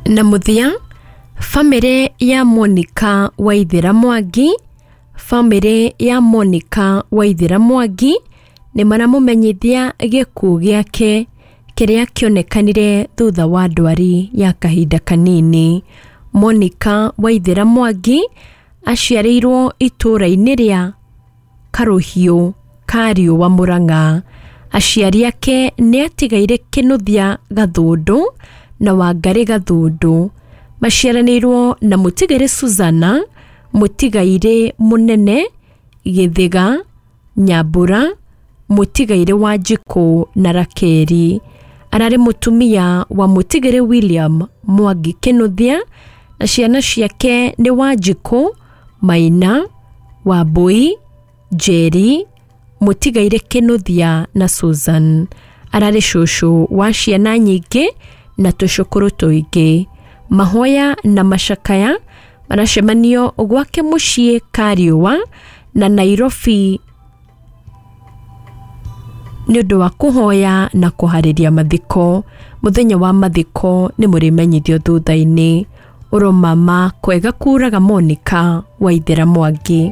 Na mũthia, bamĩrĩ ya Monica Waithera Mwangi, bamĩrĩ ya Monica Waithera Mwangi nĩ maramũmenyithia gĩkuũ gĩake kĩrĩa kĩonekanire thutha wa ndwari ya kahinda kanini. Monica Waithera Mwangi aciarĩirwo itũũra-inĩ rĩa Karũhiũ ka Riũa Mũrang'a. Aciari ake nĩ atigaire Kĩnũthia Gathũndũ na Wangarĩ Gathũndũ. Maciaranĩirwo na mũtigairĩ Suzana, mũtigairĩ Mũnene, Gĩthĩga, Nyambura, mũtigairĩ Wanjikũ na Rakeri. Ararĩ mũtumia wa mũtigairĩ William Mwangi Kĩnũthia na ciana ciake nĩ Wanjikũ, Maina, Wambui, Njeri, mũtigairĩ Kĩnũthia na Susan. Ararĩ cũcũ wa ciana nyingĩ na tũcũkũrũ tũingĩ. Mahoya na macakaya maracemanio gwake mũciĩ Kariũa na Nairobi nĩ ũndũ wa kũhoya na kũharĩria mathiko. Mũthenya wa mathiko nĩ mũrĩmenyithio thutha-inĩ. Ũromama kwega kuraga Monica Waithera Mwangi.